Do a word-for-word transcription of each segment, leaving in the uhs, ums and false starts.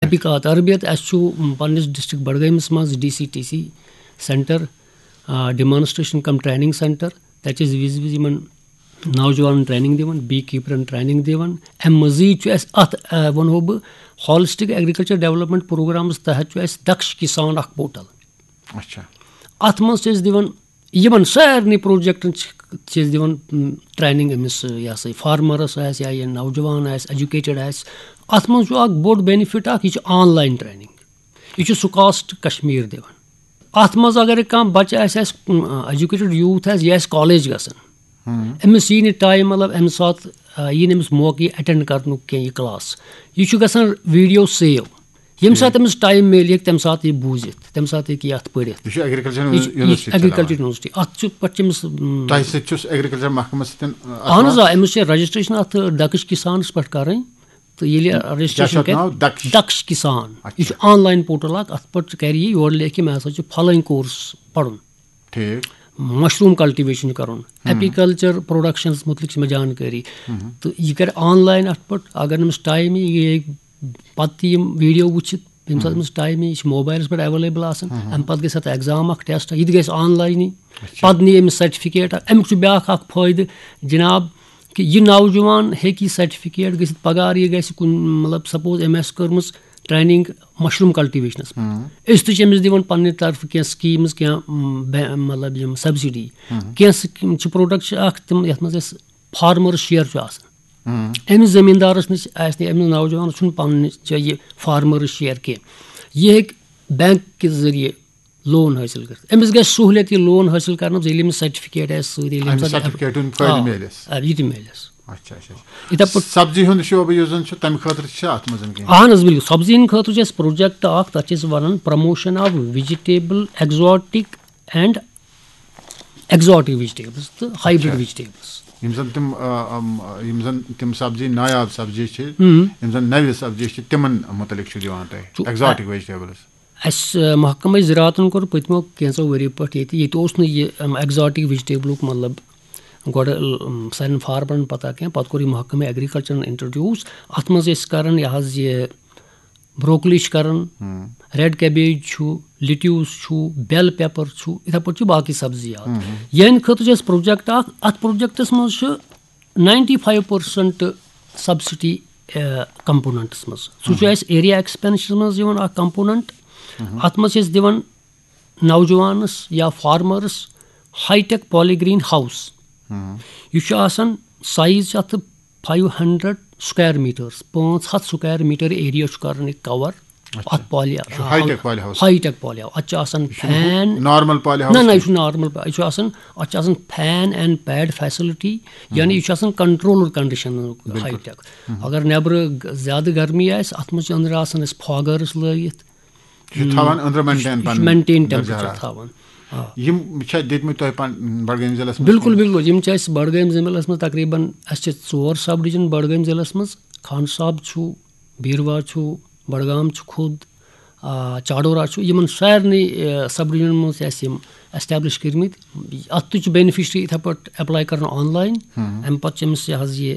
تحقیقات تربیت، اَسہِ چھُ، م، پننِس ڈسٹرکٹ بڈگٲمِس منٛز D C T C centre, ah, demonstration cum training centre. تَتہِ چھِ أسۍ وِزِ وِزِ یِمن نوجوانن ٹریننگ دِوان، بی کیپرن ٹریننگ دِوان۔ اَمہِ مٔزیٖد چھُ اَسہِ اَتھ، آ، وَنہو بہٕ، ہالسٹک ایگریکلچر ڈیولپمنٹ پروگرامس تحت چھُ اَسہِ دکش کسان اکھ پورٹل۔ اچھا۔ اَتھ منٛز چھِ أسۍ دِوان یِمن سارنٕے پروجیکٹن چھِ، چھِ أسۍ دِوان، م، ٹریننگ أمِس، یہِ ہسا یہِ فارمرس آسہِ یا یہِ نوجوان آسہِ، ایجوکیٹڈ آسہِ۔ اَتھ منٛز چھُ اکھ بوٚڑ بینیفٹ اکھ، یہِ چھِ آن لاین ٹریننگ۔ یہِ چھُ سُکاسٹ کشمیر دِوان۔ اَتھ منٛز اگر کانٛہہ بچہٕ آسہِ، آسہِ، م، ایجوکیٹڈ یوٗتھ آسہِ، یہِ آسہِ کالج گژھان، أمِس یی نہٕ ٹایم، مطلب، اَمہِ ساتہٕ، آ، یی نہٕ أمِس موقعہٕ یہِ اٹینڈ کرنُک کینٛہہ یہِ کلاس۔ یہِ چھُ گژھان ویڈیو سیو۔ ییٚمہِ ساتہٕ أمِس ٹایم میلہِ، ہیٚکہِ تَمہِ ساتہٕ یہِ بوٗزِتھ، تَمہِ ساتہٕ ہیٚکہِ یہِ اَتھ پٔرِتھ۔ یہِ چھُ ایگریکلچر یہِ چھُ، یہِ چھُ یونیورسٹی ایگریکلچر چلاوان۔ یونیورسٹی۔ اَتھ چھُ پَتہٕ چھِ أمِس، م، تۄہہِ سۭتۍ چھُس ایگریکلچر محکمس سۭتۍ، اتھ اہن حظ، منٛز؟ آ، أمِس چھِ رجسٹریشن اَتھ دکش کسانس پٮ۪ٹھ کرٕنۍ۔ تہٕ ییٚلہِ رجسٹریشن کیٛاہ چھُ اَتھ ناو؟ کرِ، دکش؟ دکش کسان۔ اچھا۔ یہِ چھُ آن لاین پورٹل اکھ، اَتھ پٮ۪ٹھ چھُ کرِ یہِ، یورٕ لیکھِ مےٚ ہسا چھُ فلٲنۍ کورس پرُن۔ ٹھیٖک۔ مشروٗم کلٹیویشن چھُ کرُن، ایپیکلچر پروڈکشنس مُتعلق چھِ مےٚ جانکٲری۔ تہٕ یہِ کرِ آن لاین اَتھ پٮ۪ٹھ، اگر نہٕ أمِس ٹایم یی، یہِ ہیٚکہِ پتہٕ تہِ یِم ویڈیو وٕچھِتھ، ییٚمہِ ساتہٕ أمِس ٹایم یی، یہِ چھِ موبایلس پٮ۪ٹھ ایویلیبل آسان۔ اَمہِ پتہٕ گژھِ اَتھ ایگزام اکھ، ٹیسٹ، یہِ تہِ گژھِ آن لاینٕے۔ پتہٕ نی أمِس سرٹیفکیٹ۔ اَمیُک چھُ بیاکھ اکھ فٲیدٕ جناب، کہِ یہِ نوجوان ہیٚکہِ یہِ سرٹیفکیٹ گٔژھِتھ، پگاہ یہِ گژھِ کُنہِ، مطلب، سپوز أمۍ آسہِ کٔرمٕژ ٹریننگ مشروٗم کلٹیویشنس منٛز۔ أسۍ تہِ چھِ أمِس دِوان پننہِ طرفہٕ کینٛہہ سکیٖمز، کینٛہہ، م، بے-، مطلب، یِم سبسڈی۔ کینٛہہ سکیٖم چھِ، پروڈکٹ چھِ اکھ تِم، یتھ منٛز أسۍ فارمرس شیئر چھُ آسان۔ أمِس زٔمیٖندارس نِش آسہِ نہٕ، أمِس نوجوانس چھُنہٕ پننہِ جایہِ یہِ فارمرس شیئر کینٛہہ۔ یہِ ہیٚکہِ بینک کہِ ذٔریعہٕ لون حٲصِل کٔرِتھ۔ أمِس گژھِ سہوٗلیت یہِ لون حٲصِل کرنَس، ییٚلہِ أمِس سرٹیفکیٹ آسہِ سۭتۍ، ییٚلہِ أمِس اَمہِ اَتھ سرٹیفکیٹُک فٲیدٕ آ، میلٮ۪س۔ آ، یہِ تہِ میلٮ۪س۔ اچھا، اچھا، اچھا۔ یِتھے پٲٹھۍ سبزی ہُنٛد شعبہٕ یُس زن چھُ، تَمہِ خٲطرٕ چھِ اَتھ منٛز کینٛہہ؟ اہن حظ، بِلکُل، سبزی ہٕنٛدِ خٲطرٕ چھُ اَسہِ پروجیکٹ اکھ، تَتھ چھِ أسۍ وَنان promotion of vegetable exotic and exotic vegetables تہٕ ہائبرڈ اچھا۔ ویجٹیبلز۔ یِم زن تِم، آ، آم، یِم زن تِم سبزی، نایاب سبزی چھِ، یِم زن نوِ سبزی چھِ، تِمن مُتعلق چھُ دِوان تُہۍ؟ چھُ، ایگزاٹک ویجٹیبلز۔ اَسہِ، آ، محکمہٕ زراعتن کوٚر پٔتمیو کینٛژو ؤرۍیو پٮ۪ٹھ ییٚتہِ، ییٚتہِ اوس نہٕ یہِ، اَم، ایگزاٹک ویجٹیبلُک، مطلب، گۄڈٕ، ال-، ام، سانٮ۪ن فارمرن پتہ کینٛہہ۔ پتہٕ کوٚر یہِ محکمہٕ ایگریکلچرن انٹروڈیوس۔ اتھ منٛز ٲسۍ کران یہِ حظ یہِ بروکلی چھِ کران، ریڈ کیبیج چھُ، لیٹیوس چھُ، بیل پیپر چھُ، یِتھے پٲٹھۍ چھِ باقٕے سبزی یاد۔ یِہنٛدِ خٲطرٕ چھُ اَسہِ پروجیکٹ اکھ۔ اتھ پروجیکٹس منٛز چھُ ninety five percent subsidy components منٛز۔ سُہ چھُ اَسہِ ایریا ایکسپینشن منٛز یِوان اکھ کمپوننٹ۔ اتھ منٛز چھِ أسۍ دِوان نوجوانس یا فارمرس ہائی ٹیک پالی گرین ہاؤس۔ یہِ چھُ آسان، سائز چھُ اتھ فایو ہنڈریڈ سکوائر میٹرز، پانٛژھ ہتھ سکوائر میٹر ایریا چھُ کران یہِ کور۔ اتھ پالی چھُ ہائی ٹیک پالی ہاؤس۔ ہائی ٹیک پالی ہاؤس۔ اتھ چھُ آسان فین۔ نارمل پالی ہاؤس نہ، نہ، یہِ کینٛہہ۔ چھُ نارمل پا-، یہِ چھُ آسان، اتھ چھُ آسان فین اینڈ پیڈ فیسلٹی، یعنی یہِ چھُ آسان کنٹرولڈ کنڈیشن ہائی ٹیک۔ اگر نیبرٕ گ-، زیادٕ گرمی آسہِ، اتھ منٛز چھِ أنٛدرٕ آسان أسۍ فاگرس لٲگِتھ۔ یہِ چھُ تھاوان أنٛدرٕ مینٹین پنُن مینٹین درجہ ٹیمپریچر حرارت۔ تھاوان۔ آ۔ یِم چھا دِتمٕتۍ تۄہہِ پن-، بڈگٲمۍ ضلعس منٛز بِلکُل، کینٛہہ؟ بِلکُل۔ یِم چھِ اَسہِ بڈگٲمۍ ضلعس منٛز تقریباً، اَسہِ چھِ ژور سب ڈویژن بڈگٲمۍ ضلعس منٛز۔ خان صاحب چھُ، بیٖروا چھُ، بڈگام چھُ خود، آ، چاڈورہ چھُ۔ یِمن سارنٕے، آ، سب ڈویژنن منٛز چھِ اَسہِ یِم ایسٹیبلش کٔرمٕتۍ۔ اَتھ تہِ چھُ بینیفیشری یِتھے پٲٹھۍ ایپلاے کران آن لاین۔ اَمہِ پتہٕ چھِ أمِس یہِ حظ یہِ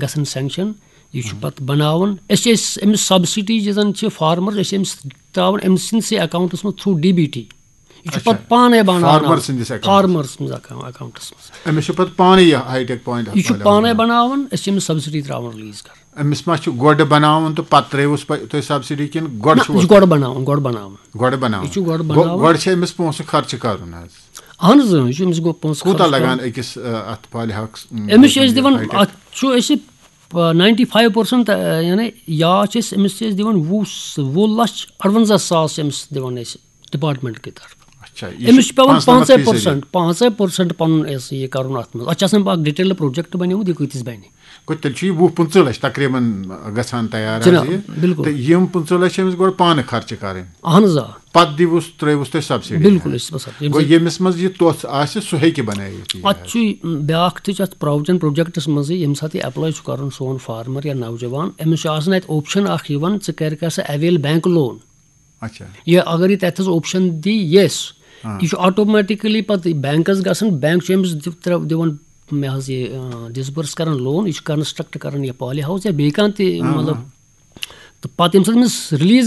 گژھان سینکشن۔ یہِ چھُ پتہٕ بناوان۔ أسۍ چھِ أسۍ أمِس سبسڈی یُس زن چھِ فارمر، أسۍ چھِ أمِس تراوان أمۍ سٕنٛدسٕے اکاونٹس منٛز تھروٗ ڈی بی ٹی۔ یہِ چھُ اچھا۔ پتہٕ پانے بناوان۔ فارمر سٕنٛدِس اکاونٹس۔ فارمر سٕنٛدِس اکاو-، اکاونٹس منٛز۔ أمِس چھُ پتہٕ پانے یہِ ہائی ٹیک پوینٹ یہِ چھُ پانے بناوان، أسۍ چھِ أمِس سبسڈی تراوان ریلیز کران۔ أمِس ما چھُ گۄڈٕ بناوُن تہٕ پتہٕ ترٲیوُس پہ-، تُہۍ سبسڈی کِنہٕ گۄڈٕ نہ، چھُ یہِ چھُ گۄڈٕ بناوان، گۄڈٕ بناوان۔ گۄڈٕ بناوُن؟ یہِ چھُ گۄڈٕ گۄ-، بناوُن۔ گۄڈٕ چھِ أمِس پونٛسہٕ خرچہٕ کرُن حظ؟ اہن حظ، اۭں، یہِ چھُ أمِس گۄ-، پونٛسہٕ کوٗتاہ خرٕچ کرُن۔ لگان أکِس، آ، اتھ پالہِ ہاوُس، م، أمِس چھِ أسۍ دِوان، اتھ چھُ أسۍ، آ، ناینٹی فایو پٔرسنٹ، آ، یعنی یا چھِ أسۍ أمِس چھِ أسۍ دِوان وُہ س-، وُہ لچھ اَرونزاہ ساس چھِ أمِس دِوان أسۍ ڈپارٹمنٹ کہِ طرفہٕ۔ اچھا، یہِ أمِس چھُ چھُ پٮ۪وان پانٛژنمتھ پانٛژے فیصدی۔ پٔرسنٹ، پانٛژے پٔرسنٹ پنُن اَسہِ یہِ کرُن اتھ منٛز۔ اتھ چھِ آسان اکھ ڈیٹیل پروجیکٹ بنیومُت، یہِ کۭتِس بنہِ۔ گوٚو تیٚلہِ چھُ یہِ وُہ پٕنٛژٕہ لچھ تقریباً گژھان تیار حظ جناب، یہِ۔ بِلکُل۔ تہٕ یِم پٕنٛژٕہ لچھ چھِ أمِس گۄڈٕ پانہٕ خرچہٕ کرٕنۍ۔ اہن حظ، آ۔ پتہٕ دِوس، ترٲیوُس تُہۍ سبسڈی بِلکُل، منٛز۔ أسۍ چھِ پتہٕ سبسڈی۔ گوٚو ییٚمِس منٛز یہِ توٚژھ آسہِ، سُہ ہیٚکہِ بنٲیِتھ یہِ اتھ حظ۔ چھُ بیاکھ تہِ چھُ اتھ پروجن پروجیکٹس منٛزٕے، ییٚمہِ ساتہٕ یہِ ایپلاے چھُ کران سون فارمر یا نوجوان، أمِس چھُ آسان اتہِ اوپشن اکھ یِوان، ژٕ کر کر سا اویل بینک لون۔ اچھا۔ یہِ اگر یہِ تتہِ تھس اوپشن دی یس، ہاں۔ یہِ چھُ آٹومیٹکلی پتہٕ بینکس گژھان، بینک چھُ أمِس دِ-، ترٛ-، دِوان، مےٚ حظ یہِ، آ، ڈسبرس کران لون، یہِ چھُ کنسٹرکٹ کران یہِ پالی ہاوُس یا بیٚیہِ کانٛہہ تہِ، ہاں، مطلب، ہاں۔ تہٕ پتہٕ ییٚمہِ ساتہٕ أمِس ریلیز